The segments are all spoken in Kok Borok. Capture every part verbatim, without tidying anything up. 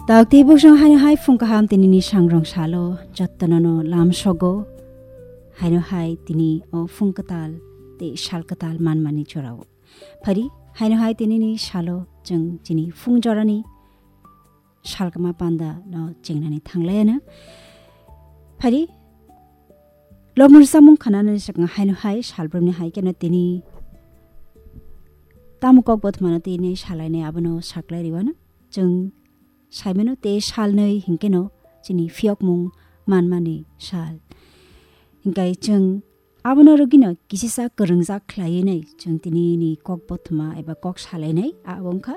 Dak tei buksong haino hai phung kaham tinini sangrong salo jottono no lam sogo. Haino hai tini o phung kwtal tei sal kwtal manmani jorao. Phari haino hai tinini salo chwng chini phung jorani salkama panda no chengnani thanglaiano. Phari lobmung samung khanani swkang haino hai salbrumni hai keno tini tamo kok bothmano tini salainai abono saklai riwano. Chwng saimano tei salnwi hinkeno chini phiyokmung manmani sal. Hinkhe chwng abono rwgwino kisisa kwrwngjak khlaiwi nai chwng tinini kok bothoma eba kok salainai abo wngkha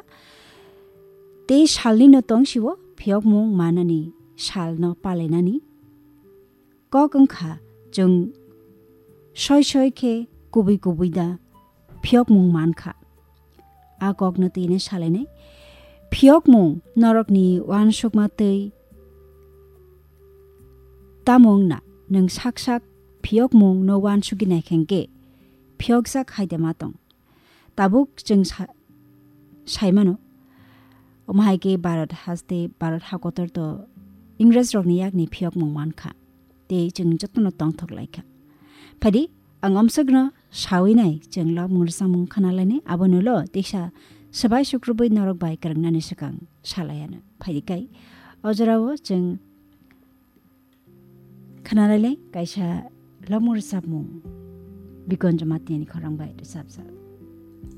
tei salnino tongsiwo phiyokmung manani salno palainani. Kok wngkha chwng soi soi khe kubui kubui da phiyokmung mankha. A kokno twi hwnwi salainai, phiyokmung norokni uansukma twi tamo wngna, nwng sak sak phiyokmung no uansugwi naikha hwnkhe phiyokjak hai de ma tong. Tabuk chwng sa-, saimano, omo hai khe Bharat haste, Bharat hakotor to Ingres rokni yakni phiyokmung mankha. Tei chwng jotono tongthok laikha. Phadi, ang omsokno sawi nai, chwng lobmung rwchapmung khana lainai, abono lo teisa swbai sukrubwi norok bai kwrwngnani swkang salaiano. Phadi kai, o jorao chwng khana lailai kaisa lobmung rwchapmung Bikon Jamatia ni khorang bai rwchapjak.